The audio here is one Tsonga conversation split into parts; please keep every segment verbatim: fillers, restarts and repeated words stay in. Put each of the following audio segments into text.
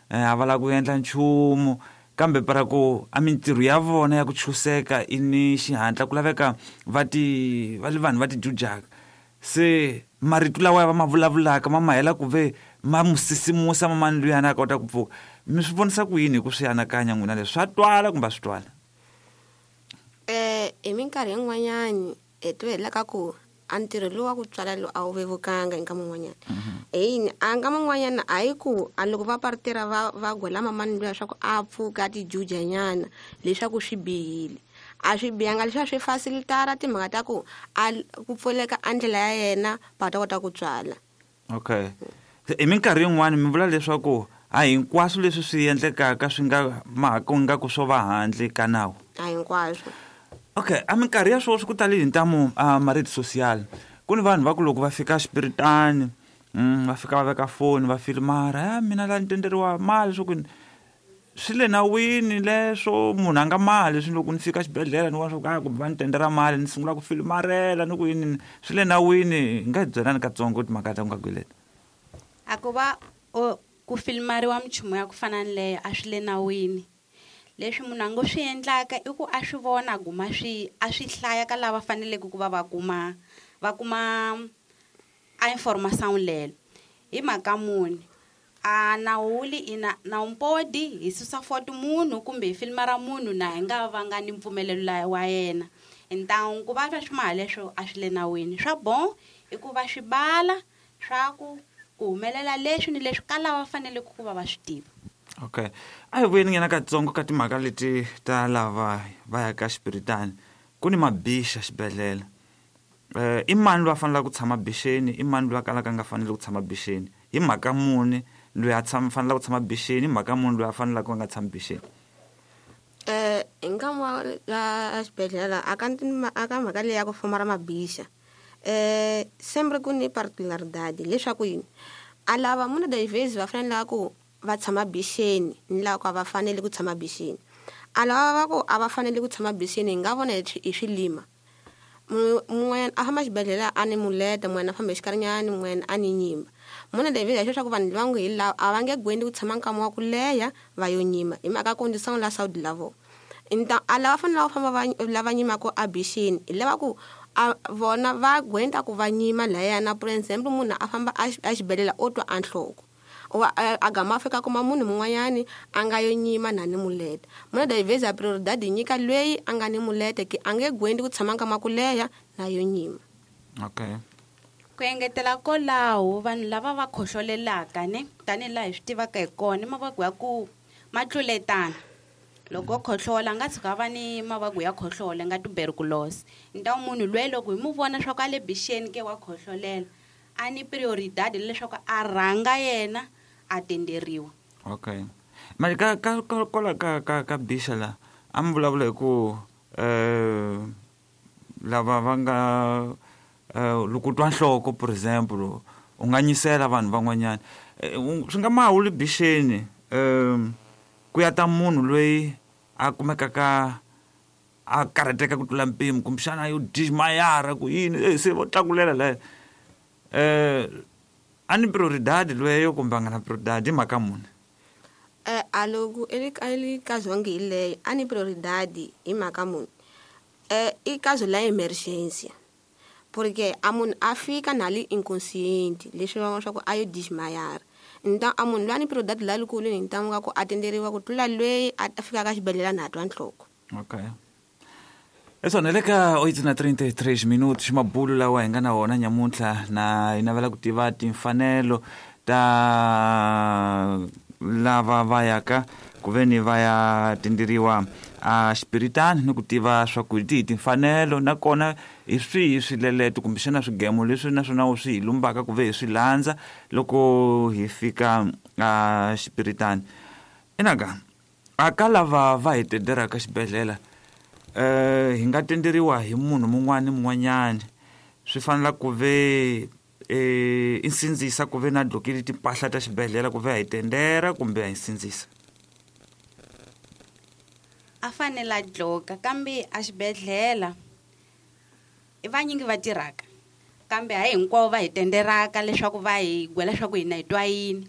a va lava ku endla nchumu kambe para ku a mintirho ya vona ya ku chuseka i ni xihatla ku laveka va ti va li vanhu va ti jujaka se marito lawa va ma vulavulaka ma ma hela ku ve ma mu sisimusa mamani luyani a kota ku pfuka. Mi swi vonisa ku yini hi ku swi anakanya n'wina leswi swa twala kumbe a swi twala? Eh hi minkarhi yin'wanyani hi twa hi la ka ku a ntirho lowu wa ku tswala lowu a wu vevukanga hi nkama wun'wanyana. Hi a nkama wun'wanyana a hi ku a loko va partera va va gwela mamani luya leswaku a pfuka a ti juja nyana leswaku swi bihile. A swi bihanga leswiya swi facilitara timhaka ta ku a ku pfuleka a ndlela ya yena va ta kota ku tswala. Okay. Hi minkarhi yin'wani mi vula leswaku a hinkwaswo leswi swi endlekaka swi nga ma ku nga ku swo va handle ka nawu. A hinkwaswo. Okay, a minkarhi ya sweswi ku tale hi ntamu a ma-rede social. Ku ni vanhu va ku loko va fika xipiritani, mm, va fika va veka foni va filimara, ya mina la ni tenderiwa mali swo ku swi le nawini leswo munhu a nga mali swi loko ni fika xibedhlele ni vona swa ku a kumbe va ni tendera mali ni sungula ku filimarela ni ku yini swi le nawini. Hi nga hi byelani katsongo timhaka ta ku nga kweleta. A ku va o ku filimariwa minchumu ya ku fana ni leyo a swi le nawini. Leswi munhu a ngo swi endlaka i ku a swi vona a guma swi a swi hlaya ka lava faneleke ku va va kuma va kuma a information lelo. Hi mhaka muni a nawu wu li ina nawumpodi hi susa foto munhu kumbe hi filimara munhu na hi nga va nga ni mpfumelelo la wa yena. Ntangu ku va swa swi maha leswo a swi le nawini. Swa bon i ku va swi bala swa ku ku humelela leswi ni leswi ka lava faneleke ku va va swi tiva. Okay. A hi vuyeni nyana katsongo ka timhaka leti ta lava va ya ka xipiritani. Ku ni mabixa xibedhlele. Eh i mani loyi a faneleke ku tshama bixeni, i mani loyi a kalaka a nga faneli ku tshama bixeni? Hi mhaka muni loyi a tshama faneleke ku tshama bixeni, hi mhaka muni loyi a faneleke a nga tshami bixeni? Eh hi nkama wa la xibedhlele a ka a ka mhaka leyi ya ku foma ra mabixa. Eh sempre ku ni particularidade leswaku yini a lava munhu das vezes va fanele ku va tshama bixeni ni lava ku a va fanele ku tshama bixeni. A lava va ku a va fanele ku tshama bixeni hi nga vona hi hi swilima. Mun'wanyana a famba xibedhlele a ni muleta, mun'wanyana a famba hi xikarinyani, mun'wanyana a ni nyimba. Munhu das vezes leswaku vanhu lava ngo hi lava a va nge gwendi ku tshama nkama wa ku leha va yo nyima hi mhaka condição la saúde la vona. Então a lava fanele va famba va lava nyimaka a bixeni hi lava ku a vona va gwenda ku va nyima layana. Por exemple munhu a famba a xibedhlele o twa a nhloko wa a gama a fika kuma munhu mun'wanyani a nga yo nyima na ni muleta. Munhu das vezes a prioridade nyika loyi a nga ni muleta ke a nge gwendi ku tshama nkama ku leha na yo nyima. Okay. Ku engetela kwalaho vanhu lava va khohlolelaka ne tanihi laha hi swi tivaka hi kona i mavabyi ya ku ma tluletana. Loko o khohlola a nga tshuka a va ni mavabyi ya khohlola nga tuberculosis. Ntawu munhu loyi loko hi mu vona swa ku a le bixeni ke wa khohlolela a ni prioridade leswaku a rhanga yena a tenderiwa. Okay. Mali ka ka kwala ka ka ka bixa la a mi vulavula hi ku eh lava va nga eh loko twa nhloko por exemple u nga nyisela vanhu van'wanyana swi nga mahuli bixeni eh ku ya ta munhu loyi a kumekaka a karhateka ku tlula mpimo kumbexana yo dismayara ku yini eh se vo tlakulela la eh a ni prioridade loyo kumbe a nga na prioridade hi mhaka muni? Eh a loko eli eli caso nge hi leyo a ni prioridade hi mhaka muni. Eh i caso la emergência porque a munhu a fika na li inconsciente leswi va swa ku a yo dismayara. Então a munhu loyi a ni prioridade la likulu ni ntamu ka ku atenderiwa ku tlula loyi a fika ka xibedhlele na twa nhloko. Okay. Esona le ka oito na trinta e três minutos mabulu lawa hi nga na wona nyamuntlha na hi navela ku tiva timfanelo ta lava va yaka ku ve ni va ya tenderiwa a xipiritani ni ku tiva swa ku hi timfanelo nakona hi swihi swileleto kumbexana swigemo leswi naswona wu swi hi lumbaka ku ve hi swi landza loko hi fika a xipiritani. Inaka a ka lava va hi tenderaka xibedhlele eh hi nga tenderiwa hi munhu mun'wana ni mun'wanyana swi fanela ku ve eh i sindzisa ku ve na dlokile timpahla ta xibedhlele ku ve a hi tendera kumbe a hi sindzisa? A fanele a dloka kambe a xibedhlele i vanyingi va tirhaka kambe hayi hinkwavo va hi tenderaka leswaku va hi gwela leswaku hina hi twa yini.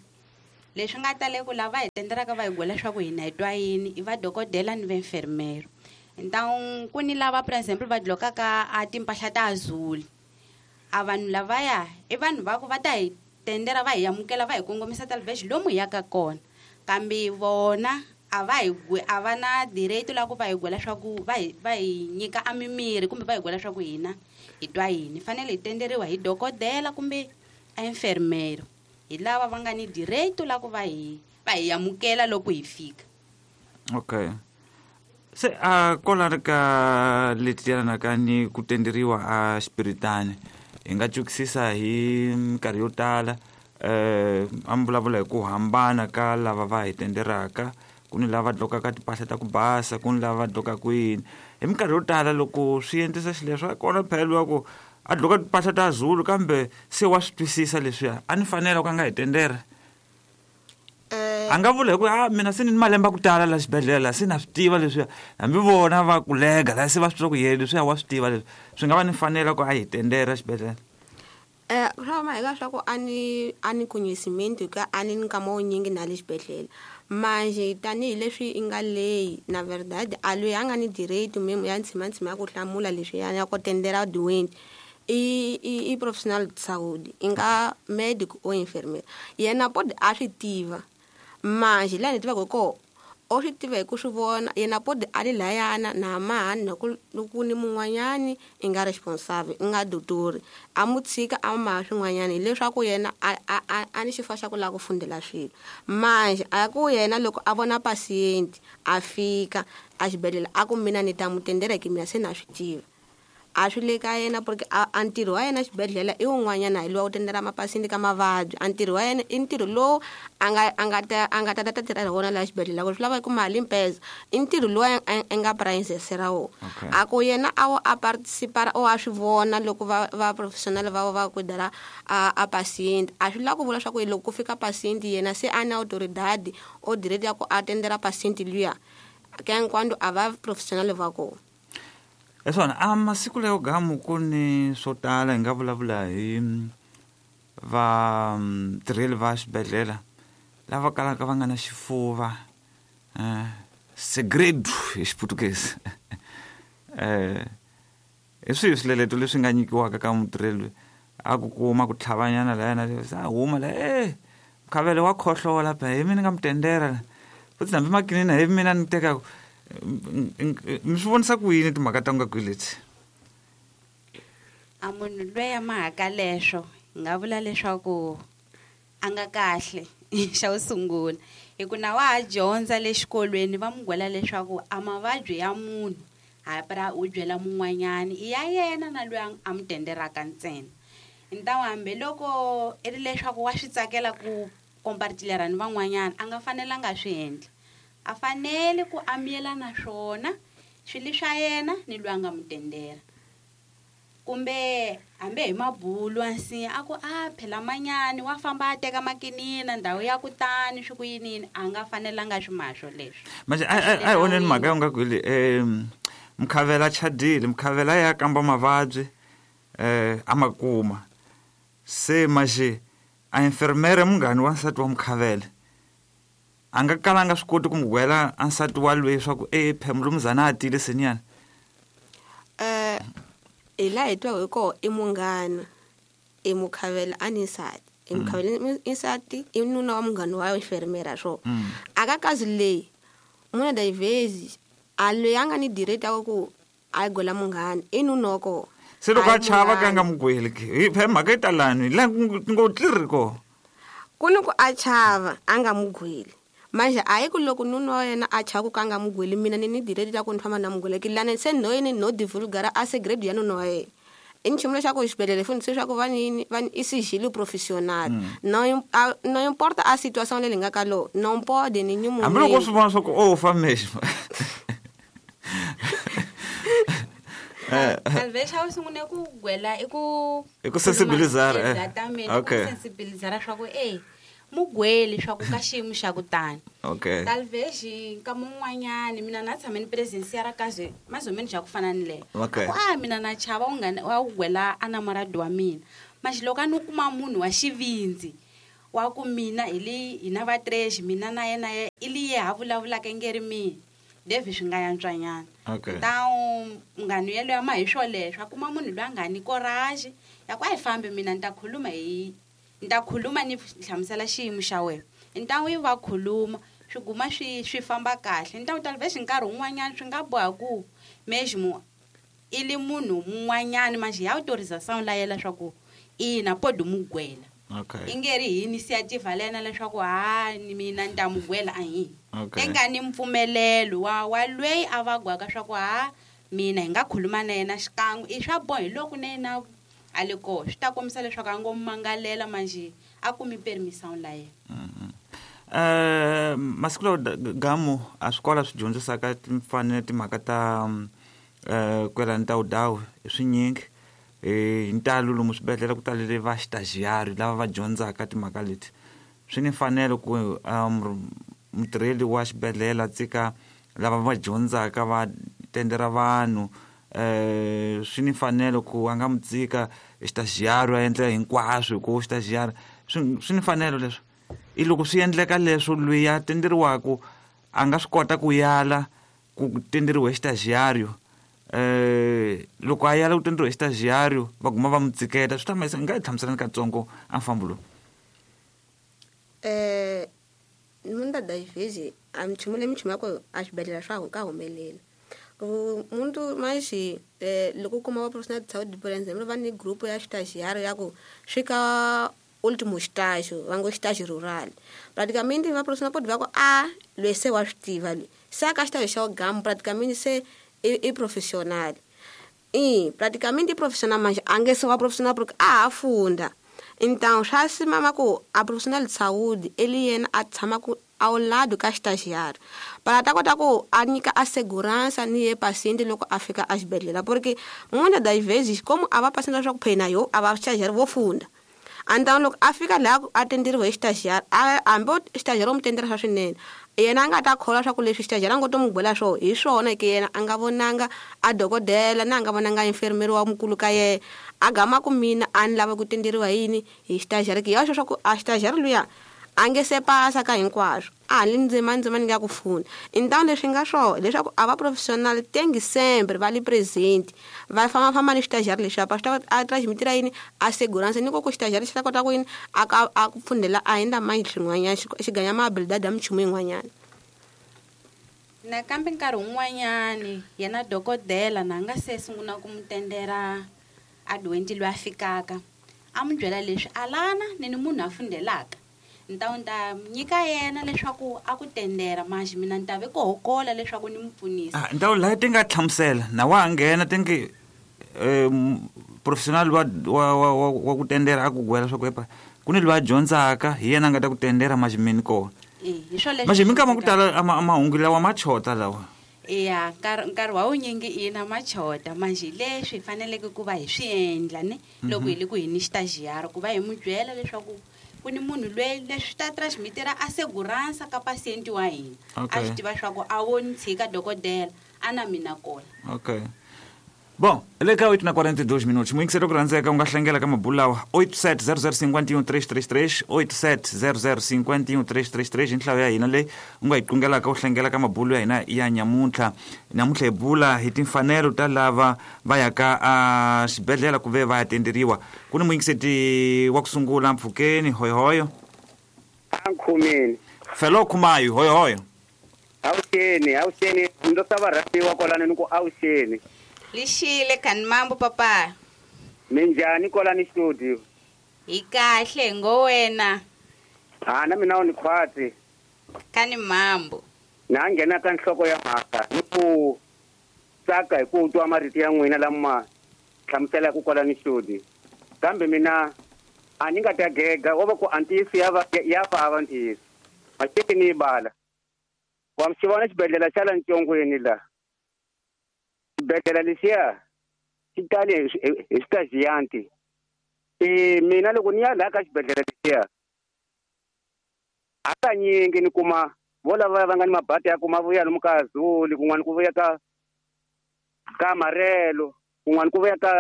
Leswi nga tale ku lava hi tenderaka va hi gwela swa ku hina hi twa yini i va dokodela ni va enfermero. Então ku ni lava por exemple va dlokaka a timpahla ta azul. A vanhu lavaya i vanhu va ku va ta hi tendera va hi amukela va hi kongomisa talvez lomu hi yaka kona. Kambe vona a va hi a va na direito la ku va hi gwela swa ku va hi va hi nyika a mimiri kumbe va hi gwela swa ku hina hi twa yini. Fanele hi tenderiwa hi dokodela kumbe a enfermero. Hi lava va nga ni direito la ku va hi va hi amukela loko hi fika. Okay. Se a kola ka leti ka ni ku tenderiwa a xipiritani hi nga twisisa hi minkarhi yo tala eh a mi vulavula hi ku hambana ka lava va hi tenderaka, ku ni lava dlokaka timpahla ta ku basa, ku ni lava dlokaka yini. Hi minkarhi yo tala loko swi endlisa xileswo a kona phela wa ku a dloka timpahla ta Zulu kambe se wa swi twisisa leswiya a ni fanele ku a nga hi tendera. A nga vula hi ku a mina se ni malembe ku tala la xibedhlele se na swi tiva leswiya, hambi vona va ku lega la se va swi tiva ku yena leswiya wa swi tiva leswi, swi nga va ni fanela ku a hi tendera xibedhlele. Eh swa ma hi ka swa ku a ni a ni conhecimento ka a ni nkama wunyingi na le xibedhlele. Manje tanihileswi i nga leyi na verdade a loyi a nga ni direito memo ya ntshimantsima ya ku hlamula leswiya ya ku tendera doente i i i profissional de saúde i nga médico ou enfermeiro yena pode a swi tiva. Manje laha ni tivaka koho o swi tiva hi ku swi vona yena pode a li layana na mahani na ku ku ni mun'wanyani i nga responsable i nga dotori a mu tshika a maha swin'wanyani hileswaku yena a a a ni xifo xa ku lava ku fundela swilo. Manje a ku yena loko a vona paciente a fika a xibedhlele a ku mina ni ta mu tendera hi mina se na swi tiva. A swi le ka yena porque a a ntirho wa yena xibedhlele i wun'wanyana hi lowa ku tendela mapasindi ka mavabyi. A ntirho wa yena i ntirho lowu a nga a nga ta a nga ta ta tirha hi wona laha xibedhlele ku swi lava ku mali mpeza i ntirho lowu a nga princess ra wona. A ku yena a wo a participar o a swi vona loko va va professional va va ku dara a a patient a swi lava ku vula swa ku loko ku fika patient yena se a na autoridade o direct ya ku a tendela patient luya ke enquanto a va professional va kona. Esona a masiku leyo gamu ku ni swo tala hi nga vulavula hi va tirheli va xibedhlele lava kalaka va nga na xifuva eh segredo hi xiputukezi eh hi swihi swileleto leswi nga nyikiwaka ka mutirheli a ku kuma ku tlhavanyana la yena a huma la eh mukhavele wa khohlola pha hi mina nga mutendera futhi hambi makinina hi mina ni tekaka mi swi vonisa ku yini timhaka ta nga kwihi leti? A munhu loyi a mahaka leswo hi nga vula leswaku a nga kahle xa ku sungula hi ku na wa ha dyondza le xikolweni va mu gwela leswaku a mavabyi ya munhu ha u byela mun'wanyani i ya yena na loyi a mu tenderaka ntsena. Ntawu hambiloko i ri leswaku wa swi tsakela ku compartilhar ni van'wanyana a nga fanelanga swi endla. A fanele ku amiyela na swona swilo swa yena ni loyi a nga mu tendera. Kumbe hambi hi mabulu a nsinya a ku a phela manyani wa famba a teka makinina ndhawu ya kutani swi ku yinini a nga fanelanga swi maha swoleswo. Manje a a oneni mhaka ya nga kwili eh mukhavela chadile mukhavela ya kamba mavabyi eh a ma kuma se manje a enfermera munghani wa nsati wa mukhavela a nga kalanga swi koti ku mu gwela a nsati wa loyi swa ku e phemulumuzana a tile senyana. Eh hi laha hi twa hi koho i munghana i mukhavela a ni nsati i mukhavela i nsati i nuna wa munghana wa enfermera swo a ka kazi leyi muna das vezes a loyi a nga ni direct ya ku a gwela munghana i nuna wa koho. Se loko a chava ka nga mu gweli hi phe mhaka yi talani la ngo tliri ko ku ni ku a chava a nga mu gweli. Manje a yi ku loko nuna wa yena a chava ku ka nga mu gweli mina ni ni direct ya ku ni famba na mu gwela ki lana se no yini no divulgara a segredo ya nuna wa yena. I nchumu lexaku xibedhlele fundise leswaku va ni va ni i sigilo profissional no no importa a situação leyi nga ka lo não pode nenhum hambi loko swi vona swa ku o fa mesmo. Talvez a sungule ku gwela i ku i ku sensibilizar eh okay ku sensibilizar swa ku eh mugweli swa ku ka xiyimo xa ku tani. Okay. Talvez nkama un'wanyani mina na tshame ni presensia ra kaze mazomeni xa ku fana ni leyo. Okay. Ku a mina na chava u nga wa gwela a namorado wa mina. Manje loko a ni kuma munhu wa xivindzi wa ku mina hi le hina va três mina na yena i li ye ha vulavulaka ngeri mina David swi nga yantswanyana okay. Então munghana yelweyo ma hi swoleswo a kuma munhu loyi a nga ni courage ya ku a hi fambi mina ni ta khuluma hi ni ta khuluma ni hlamusela xiyimo xa wena então yi va khuluma swi guma swi swi famba kahle então talvez nkarhi wun'wanyana swi nga boha ku mesmo i li munhu mun'wanyana manje ya autorização la yela swa ku ina pode mugwela okay. I nge ri hi initiative lena leswaku ha ni mina ni ta mugwela a hi okay. Tenga ni mpfumelelo wa wa lweyi a va gwaka swa ku ha mina hi nga khuluma na yena xikan'we i swa boha hi loko na yena a le koho swi ta kombisa leswaku a ngo mangalela manje a kumi permission la yena mm-hmm. Uh, masiku lawa gamu a swikolo swi dyondzisaka timfanelo timhaka ta uh, kwelani ta vudawu i swinyingi hi ntalo lomu swibedhlele ku talele va xitaxiari lava va dyondzaka timhaka leti swi ni mfanelo ku um, mutirheli wa xibedhlele a tsika lava va dyondzaka va tendera vanhu eh swi ni mfanelo ku a nga mu tsika xitaxiari a endla hinkwaswo hi ku xitaxiari swi swi ni mfanelo leswo i loko swi endleka leswo loyi a tenderiwaku a nga swi kota ku yala ku tenderiwa hi xitaxiario eh loko a yala ku tenderiwa hi xitaxiario va guma va mu tsiketa swi ta ma nga hi hlamuselani katsongo a mfambo lowu eh muitas das vezes a nchumu leyi minchumu ya ku a xibedhlele swa ka humelela muntu mais eh loko u kuma va profissional de saúde por exemplo va ni grupo ya estagiário ya ku swi ka último estágio va ngo estágio rural praticamente va profissional pode va ku a loyi se wa swi tiva loyi se a ka estágio xa gamu praticamente se i, i profissional e praticamente profissional mas a nge se wa profissional porque a ha funda então swa simama ku a profissional de saúde ele yena a tshama ku ao lado ka estagiário para ta kota ku a nyika a segurança ni ye paciente loko a fika a xibedhlele porque muitas das vezes como a va paciente leswaku phena yo a va estagiário vo funda então loko a fika laha a tenderiwe hi estagiário hambi estagiário mu tendera swa swinene yena a nga ta kholwa swa ku leswi estagiário a ngo to mu gwela swo hi swona ke yena a nga vonanga a dokodela na a nga vonanga enfermeiro wa mukulu ka yena a gama ku mina a ni lava ku tenderiwa yini hi estagiário ke ya swo swa ku a estagiário luya a nge se pasa ka hinkwaswo a li ndzima ndzima ni nga ku funa então leswi nga swona leswaku a va profissional tengi sempre va li presente va fambafamba ni estagiário leswi apa swi ta a transmitira yini a segurança ni ku ku estagiário xi ta kota ku yini a ka a ku pfundela a endla manje swin'wanyana xi ganya ma-habilidade ya minchumu yin'wanyana nakambe nkarhi wun'wanyani yena dokodela na nga se sungula ku mu tendera a doente loyi a fikaka a mu byela leswi alana ni ni munhu a fundelaka então ni ta nyika yena leswaku a ku tendera manje mina ni ta ve ku hokola leswaku ni mu pfunisa ah então laha ti nga hlamusela na wa nghena ti nge eh professional wa wa wa, wa ku tendera a ku gwela swa ku epa ku ni loyi a dyondzaka hi yena a nga ta ku tendera manje mina kona eh hi swo leswi manje minkama ku tala ama mahungu lawa ma chota lawa ya nkarhi nkarhi wa wunyingi ina machota manje leswi hi faneleke ku va hi swi endla ne loko hi le ku hi ni estagiário ku va hi mu byela leswaku ku ni munhu loyi leswi ta transmitira a segurança ka paciente wa hina a swi tiva swa ku a wo ni tshika dokodela a na mina kona okay bom le ka oito na quarenta e dois minutos muito ku rhandzeka u nga hlengela ka mabulu lawa oito sete zero zero cinco um três três três oito sete zero zero cinco um três três três hi nhlayo ya hina leyi u nga yi qungelaka u hlengela ka mabulu ya hina ya nyamuntlha namuntlha hi bula hi timfanelo ta lava va yaka a xibedhlele ku ve va ya tenderiwa ku ni muyingiseti wa ku sungula mpfhukeni hoyohoyo ankhumeni felo khumayo hoyohoyo awuxeni awuxeni ndo sa va rhambiwa kwalano ni ku awuxeni lixile kani mambo papa minjhani kwalani studio hi kahle ngo wena ha na mina u ni khwatsi kani mambo na nghena ka nhloko ya mhaka ni ku tsaka hi ku twa marito ya n'wina lama hlamuselaka kwalani studio kambe mina a ni nga ta gega wo va ku a ntiyiso ya va ya vava ntiyiso maxeke ni yi bala wa mi xi vona xibedhlele xa la ntsongweni la xibedhlele lexiya xi tale hi xitaxiyanti e mina loko ni ya laha ka xibedhlele lexiya hakanyingi ni kuma vo lava va nga ni mabadi ya ku ma vuya lomu ka Zuli kun'wana ku vuya ka ka Marelo kun'wana ku vuya ka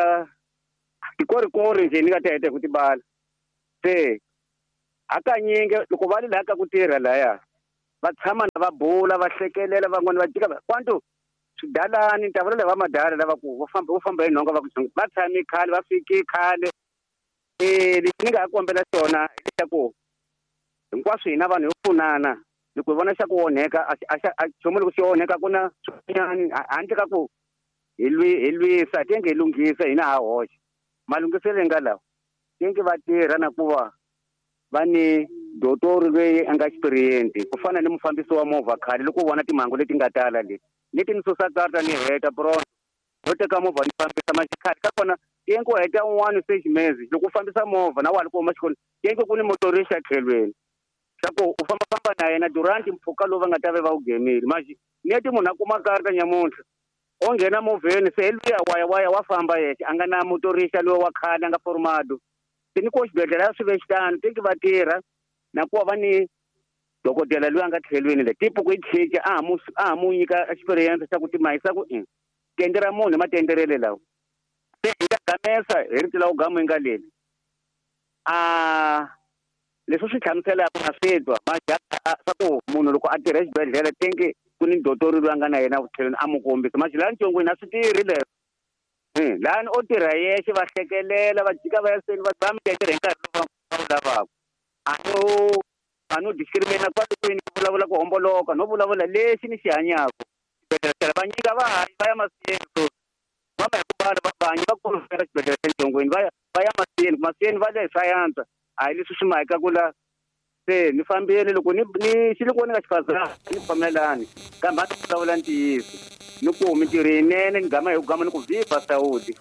tikorikori njhe ni nga ta heta hi ku tibala se Hakanyingi loko va ri laha ka ku tirha laya va tshama na va bula va hlekelela van'wani va jika kwantu swidalani ta vula va madala lava ku va famba va famba hi nhonga va ku va tshami khale va fiki khale. Eh lexi ni nga kombela xona hileswaku hinkwaswo hina vanhu hi pfunana loko hi vona xa ku onheka a nchumu loko xi onheka ku na swin'wanyani handle ka ku hi lwi hi lwisa tenge hi lunghisa hina ha hoxa malunghiselo nga lawa tenge va tirha na ku va va ni dotori loyi a nga experience ku fana ni mufambisi wa movha khale loko u vona timhangu leti nga tala leti leti ni susa karata ni heta pronto no teka movha ni fambisa maxikhale ka kona tenge u heta un'wana se ximezi loko u fambisa movha na wa loko u huma xikolweni tenge ku ni motorista tlhelweni swa ku u fambafamba na yena durant mpfhuka lowu va nga ta ve va wu gemile maxi neti munhu a kuma karata nyamuntlha o nghena movheni se hi luya waya waya wa famba yexe a nga na motorista loyi wa khale a nga formado se ni ko xibedhlele a swi ve xitano teki va tirha na ku va ni dokodela loyi a nga tlhelweni le tipo ku yi tshika a ha mu a ha mu nyika experience xa ku timahisa ku i tende ra munhu matenderele lawa se hi nga gamesa hi rito la ku gamu yi nga leli a leswi swi hlamuselaka na swi twa swa ku munhu loko a tirha exibedhlele tenge ku ni dotori loyi a nga na yena tlhelweni a mu kombisa maxi laha ntsongweni a swi tirhi leswo lani o tirha yexe va hlekelela va jika va ya seni va ba mitendere hi nkarhi lowu va wu lavaka a no a no discriminate kwale kwini ku vulavula ku homboloka no vulavula lexi ni xi hanyaka xibedhlele va nyika vahanyi va ya masiyeni so va va hi ku bala vahanyi va kulufela xibedhlele xa ntsongweni va ya va ya masiyeni masiyeni va le sayense a hi leswi swi mahika ku la se ni fambile loko ni ni xi loko ni nga xifazana ni pfumelani kambe a ni vulavula ntiyiso ni ku mintirho yinene ni gama hi ku gama ni ku viva Saudi.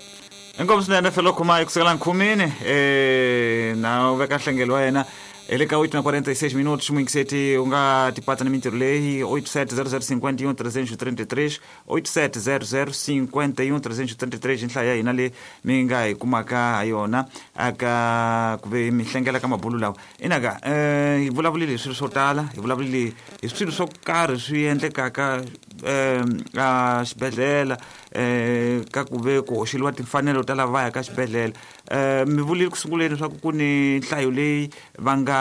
Inkomu swinene felo khuma kusukela nkhumini eh na u veka nhlengelo wa yena ele ka oito na quarenta e seis minutos muingiseti u nga tipatsa na mintirho leyi oito sete zero zero cinquenta e um trezentos e trinta e três oito sete zero zero cinquenta e um trezentos e trinta e três nhlaya ya hina leyi mi nga hi kumaka ha yona aka ku ve mi hlengela ka mabulu lawa inaka eh hi vulavulile hi swilo swo tala hi vulavulile hi swilo swo karhi swi endlekaka eh a xibedhlele eh ka ku ve ku hoxeliwa timfanelo ta lava va yaka xibedhlele eh mi vulile ku sunguleni leswaku ku ni nhlayo leyi va nga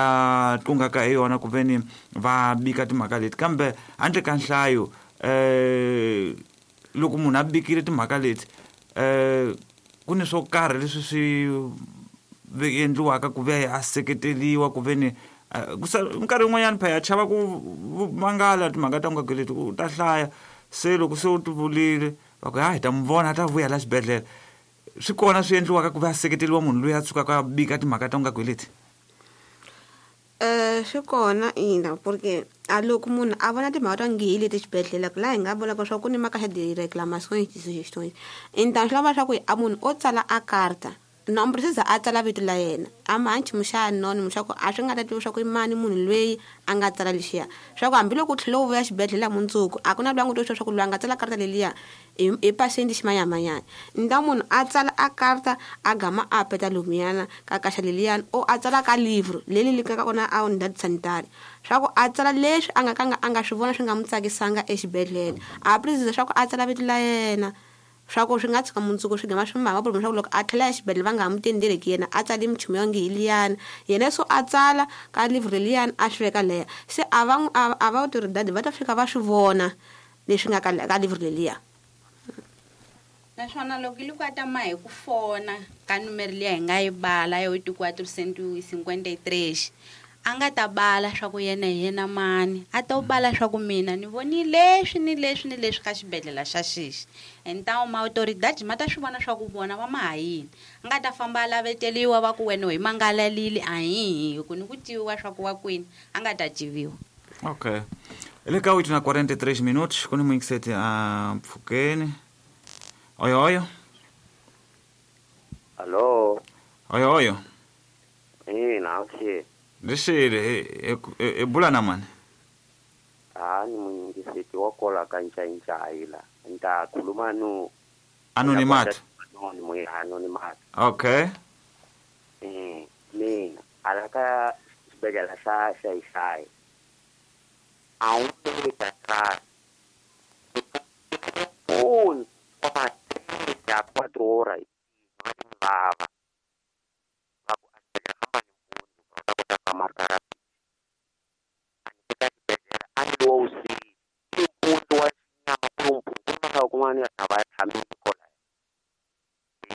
tlungaka hi yona ku veni va bika timhaka leti kambe handle ka nhlayo eh loko munhu a bikile timhaka leti eh ku ni swo karhi leswi swi endliwaka ku ve a seketeliwa ku veni nkarhi wun'wanyana phela chava ku mangala timhaka ta nga leti u ta hlaya se loko se u ti vulile va ku ha hi ta mi vona a ta vuya la xibedhlele swi kona swi endliwaka ku ve a seketeliwa munhu loyi a tshukaka a bika timhaka ta nga leti. Eh swi kona ina porque a loko munhu a vona timhaka ta ngi leti xibedhlele laha hi nga vulaka swa ku ni maka xa di-reclamações de sugestões então swi lava swa ku a munhu o tsala a karta não precisa a tsala vito la yena a ma nchumu xa anônimo swa ku a swi nga ta tiviwa swa ku i mani munhu loyi a nga tsala lexiya swa ku hambiloko u tlhela u vuya xibedhlele mundzuku a ku na loyi a nga to swa ku loyi a nga tsala karta leliya i paciente ximanyamanyana nta munhu a tsala a karta a gama a peta lomuyana ka kaxa leliyani o a tsala ka livro leli li ka kona a unidade sanitária swa ku a tsala leswi a nga ka a nga swi vona swi nga n'wi tsakisanga exibedhlele a precisa swa ku a tsala vito la yena swa ku swi nga tshika mundzuku swi gama swi mhaka problem swa ku loko a tlhela exibedhlele va nga ha mu tendeleki yena a tsali minchumu ya nge hi liyani yena so a tsala ka livro leliyani a swi veka leya se a va a va autoridade va ta fika va swi vona leswi nga ka ka livro leliya. Naswona loko loko a ta ma hi ku fona ka numero liya hi nga yi bala ya oito quatro cento e cinquenta e três a nga ta bala swa ku yena hi yena mani a ta bala swa ku mina ni voni leswi ni leswi ni leswi ka xibedhlele xa xixi então ma autoridade ma ta swi vona swa ku vona va ma ha yini a nga ta famba a laveteliwa va ku wena hi mangalalile a hi hi ku ni ku tiviwa swa ku wa kwini a nga ta tiviwa. Okay ele ka oito na quarenta e três minutos ku ni muingiseti a mpfhukeni. Oi, oi. Alô. Oi, oi. Eh, naxi. Lexile e bula na mani. Ah, ni muingiseti wa kola ka nchainchai la. Nta khuluma no anonimato. Anonimo, anonimato. Okay. Eh, mina alaka xibedhlele xa Xaixai. A wu ta ka. Un ya quatro horas va va va ku a marcar van'wani a va tshami kona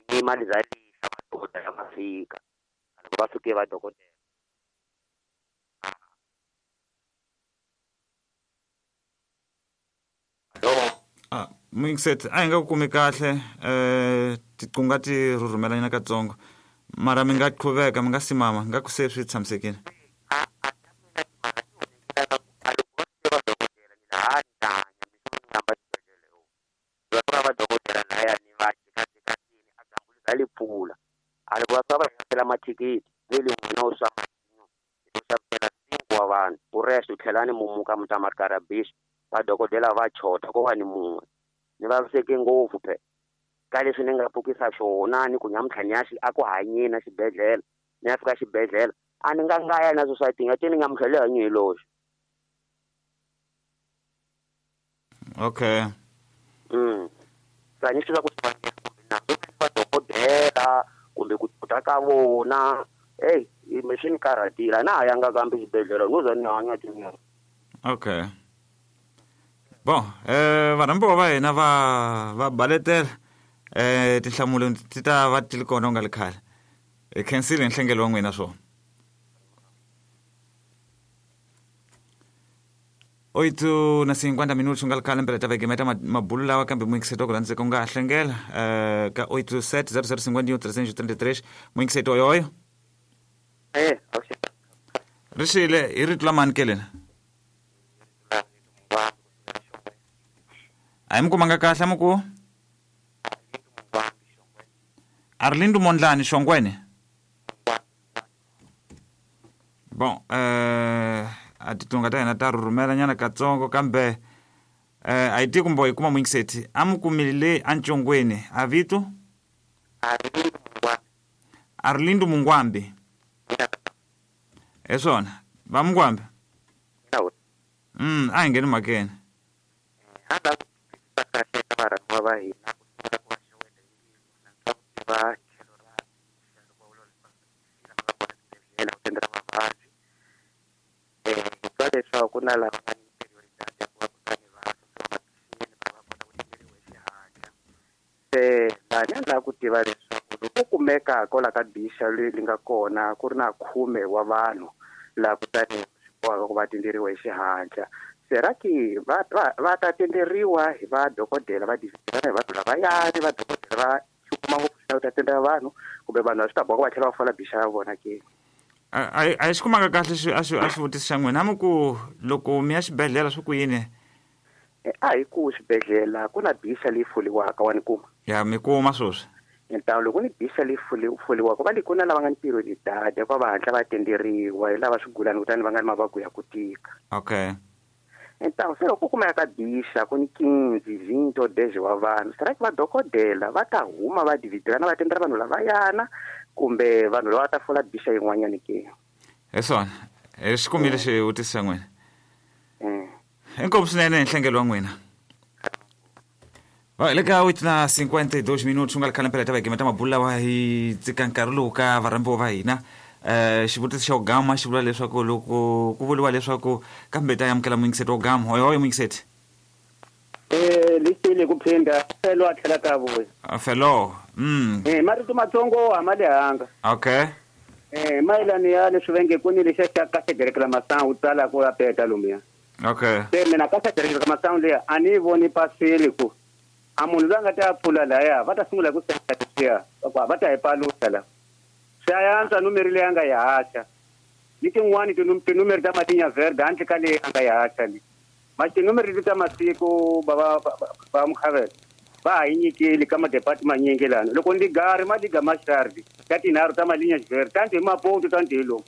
ni mali za lisa vadokodela va fika loko va fike vadokodela ah muyingiseti a hi nga ku kumi kahle um tiqunga ti rhurhumelanyana katsongo mara mi nga qhuveka mi nga simama nga ku se swi tshamisekile. Mathikithi vele n'wina u swa u xavela cinco wa vanhu u rest u tlhela ni mumuka mi ta makarabisi vadokodela va chota ko va ni mun'we ni vaviseke ngopfu phe ka leswi ni nga pfukisa swona ni ku nyamuntlha ni ya a ku hanyeni xibedhlele ni ya fika xibedhlele a ni nga nga ya na society nga te ni nyamuntlha le hanyi hi loxo. Okay. Mm. Sa ni swi ku na vadokodela kumbe ku ta ka vona hey mi swi ni karhatile na ha yanga kambe xibedhlele no za ni hanya tinyana. Okay. Bon, eh varhambiwa va hina va va baletela eh tinhlamulo ti ta va ti ri kona u nga ri khale. Hi khensile nhlengelo wa n'wina swona. Oito na cinquenta minutos u nga ri khale mpela ta vekemeta mabulu lawa kambe muyingiseti wa ku rhandzeka u nga ha hlengela eh ka oito sete zero zero cinquenta e um trezentos e trinta e três muyingiseti oyoyo. Eh, okay. Ri xile hi rito la mani ke lena? A hi mi kumanga kahle mi ku Arlindo Mondlane Xongweni. Bon, eh a titunga ta hina ta rhurhumela nyana katsongo kambe eh a yi tiku mbo hi kuma muyingiseti a mi kumile le eNcongweni a vito Arlindo Mungwambi. Hi swona va Mungwambi. Mm, a hi ngheni mhakeni. Leswaku na lava nga ni prioridade ya ku va kutani va va va kota ku tinderiwa hi xihatla se laha ni lava ku tiva leswaku loko kumeka kwala ka bixa leyi nga kona ku ri na khume wa vanhu laha kutani swi bohaka ku va tinderiwa hi xihatla sera ki va va va ta tinderiwa hi vadokodela va dividirana hi vanhu lavayani vadokodela va xi kuma ngopfu xi ta tindela vanhu kumbe vanhu va swi ta boha ku va tlhela va fola bixa ya vona ke. A a xi kumanga kahle xi a xi a xivutiso xa n'wina a mi ku loko mi ya xibedhlele swi ku yini? A hi ku xibedhlele ku na bixa leyi foliwaka wa ni kuma. Ya mi kuma sweswi. Ntawu loko ni bixa leyi foliwaka va le ku na lava nga ni prioridade ku va hatla va tenderiwa hi lava swigulani kutani va nga ni mavabyi ya ku tika. Okay. Ntawu se loko ku kumeka ka bixa ku ni quinze vinte ou dez wa vanhu será que vadokodela va ta huma va dividirana va tendera vanhu lavayana kumbe vanhu lava ta fola bixa yin'wanyana ke? Hi swona hi xi kumile xivutiso xa n'wina. Inkomu swinene hi nhlengelo wa n'wina. Va le ka oito na cinquenta e dois minutos u nga ri khale mpela ta vekemeta mabulu lawa hi tsika nkarhi lowu ka varhambiwa va hina. Eh xivutiso xa gama xi vula leswaku loko ku vuriwa leswaku kambe ta amukela muyingiseti wa gama hoyohoyo muyingiseti. Eh lexile ku phinda felo a tlhela ka vuya. Felo. Mm. Eh marito matsongo a ma lehanga. Okay. Eh mayelana ya leswi va nge ku ni lexa xa ka xegerekela masangu tsala ku apeta lomuya. Okay. Se mina ka xegerekela masangu leya a ni voni pasile ku a munhu loyi a nga ta pfula laya va ta sungula ku senda leswiya va ta hi paluxa la. Swi antswa numeri leyi a nga yi haxa ni tin'wani tinumeri ta matinya verde handle ka leyi a nga yi haxa leyi ma tinumeri leti ta masiku va va va mukhavela va ha yi nyikeli ka madepati manyingi lana loko ni gari ma liga maxardi ta tinharhu ta malinya verde tanti hi maponto tanti hi lomu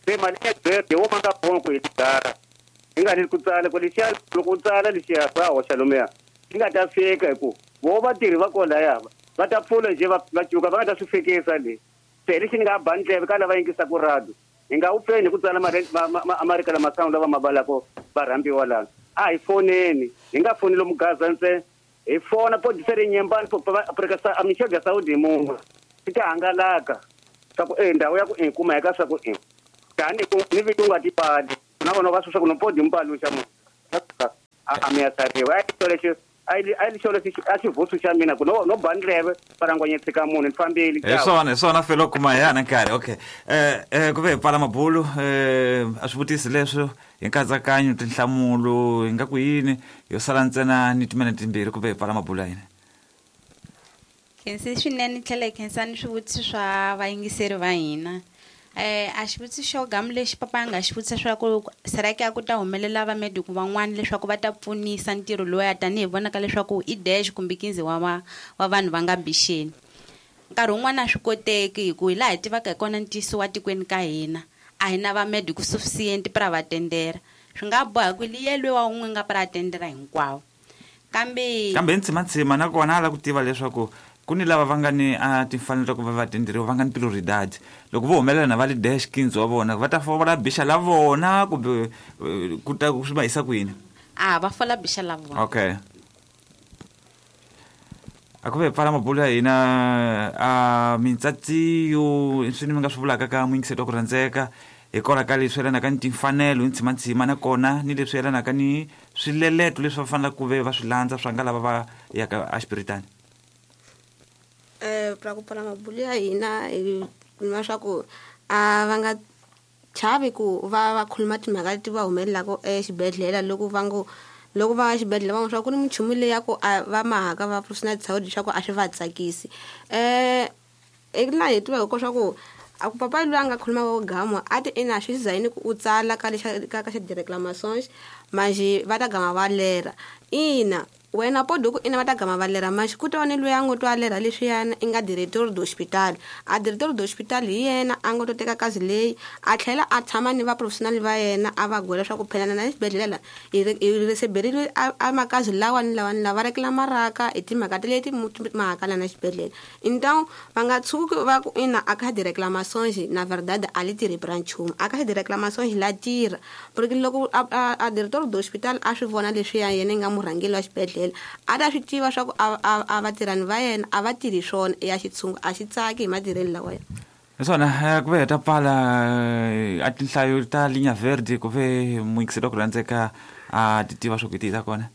se malinya verde wo ma nga ponko hi tigara hi nga ni ku tsala ku lexiya loko u tsala lexiya swa hoxa lomuya yi nga ta fika hi ku vo vatirhi va kolaya va ta pfula njhe va va cuka va nga ta swi fikisa le se lexi ni nga ba ndleve ka lava yingisaka radio hi nga wu pfeni hi ku tsala marika lama sound lava ma valako va rhambiwa lana a hi foneni hi nga foni lomu Gaza ntsena hi fona podisere nyembani Afrika Michel Saudi munhu swi ta hangalaka swa ku e ndhawu ya ku i kuma eka swa ku i tani ku ni vito u nga tipali na vona va swi swa ku no podi mpaluxa munhu a mi ya tsariwa a xito lexi a yi a yi xolo a xivutsu xa mina ku no no ba ndleve parangwanye tshika munhu ni fambile hi swona hi swona felo kuma hi yana nkarhi okay eh eh ku ve hi pfala mabulu eh a swi vutisi leswo hi nkatsakanyo tinhlamulo hi nga ku yini yo sala ntsena ni timinete timbirhi ku ve hi pfala mabulu ya hina. Khensi swinene tlhela hi khensa ni swivutiso swa vayingiseri va hina. Eh a xivutiso xo gamu lexi papa a nga xi vutisa swa ku será que a ku ta humelela vamediku van'wana leswaku va ta pfunisa ntirho lowuya tanihi vonaka leswaku i dash kumbe quinze wa va wa vanhu va nga bixeni. Nkarhi wun'wana a swi koteki hi ku hi laha hi tivaka hi kona ntiyiso wa tikweni ka hina a hi na vamediku suficiente para va tendera swi nga boha ku liyelwe wa un'we nga para tendera hinkwawo kambe kambe hi ntsimantsima nakona a lava ku tiva leswaku ku ni lava va nga ni a timfanelo ta ku va va tenderiwa va nga ni prioridad loko vo humelela na va li dash quinze wa vona va ta fola bixa la vona kumbe ku ta swi va yisa kwini a va fola bixa la vona okay a ku ve pfala mabulu ya hina a mintsatsiyo swi ni mi nga swi vulaka ka muyingiseti wa ku rhandzeka hikwalaho ka leswi yelanaka ni timfanelo hi ntsimantsima nakona ni leswi yelanaka ni swileleto leswi va fanelaka ku ve va swi landza swa nga lava va yaka exipiritani. Eh pra ku pfala mabulu ya hina hi kuma swa ku a va nga chavi ku va va khuluma timhaka leti va humelelaka exibedhlele loko va ngo loko va xibedhlele va swa ku ni minchumu leyi ya ku va mahaka va professional saudi swa ku a swi va tsakisi eh laha hi tivaka ko swa ku a ku papa loyi a nga khuluma wo gama a ti ina swi zayini ku u tsala ka lexa ka ka xa di-reclamations manjhe va ta gama va lera ina wena podo ku ina va ta gama va lera manjhe ku ta ni loyi a ngo twa lera leswiyana i nga director do hospital a director do hospital hi yena a ngo to teka kazi leyi a tlhela a tshama ni va professional va yena a va gwela swa ku phelana na xibedhlele la hi receberile a makazi lawa ni lawa ni lava reclamaraka hi timhaka ta leti mahakala na xibedhlele então va nga tshuki va ku ina a ka di-reclamations na verdade a li tirhi pra nchumu a ka di-reclamations la tirha porque loko a a director do hospital a swi vona leswiya yena i nga murhangeri wa xibedhlele a ta swi tiva swa ku a vatirhani va yena a va tirhi swona ya xitshungu a xi tsaki hi matirhelo lawa ya hi swona ku ve hi ta pfala a tinhlayo ta Linha Verde ku ve muyingiseri wa ku rhandzeka a ti tiva swa ku hi tihi ta kona.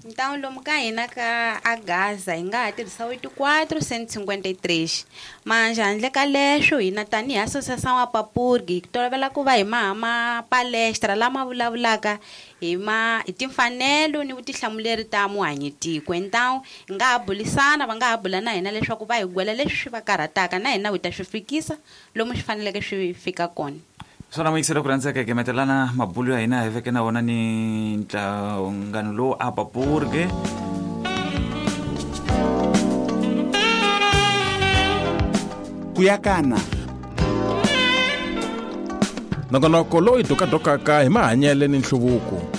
Então lomu ka hina ka a Gaza hi nga ha tirhisa oito quatro cento e cinquenta e três manjhe handle ka leswo hina tanihi Associação Apapurg hi tolovela ku va hi maha ma palestra lama vulavulaka hi ma hi timfanelo ni vutihlamuleri ta muhanyitiko então hi nga ha bulisana va nga ha bula na hina leswaku va hi gwela leswi swi va karhataka na hina hi ta swi fikisa lomu swi faneleke swi fika kona. Swona muyingiseri wa ku rhandzeka hi gemetelana mabulu ya hina hi veke na wona ni nhlangano lowu Apapurg. Kuyakana nongonoko lowu hi dokadokaka hi mahanyele ni nhluvuko.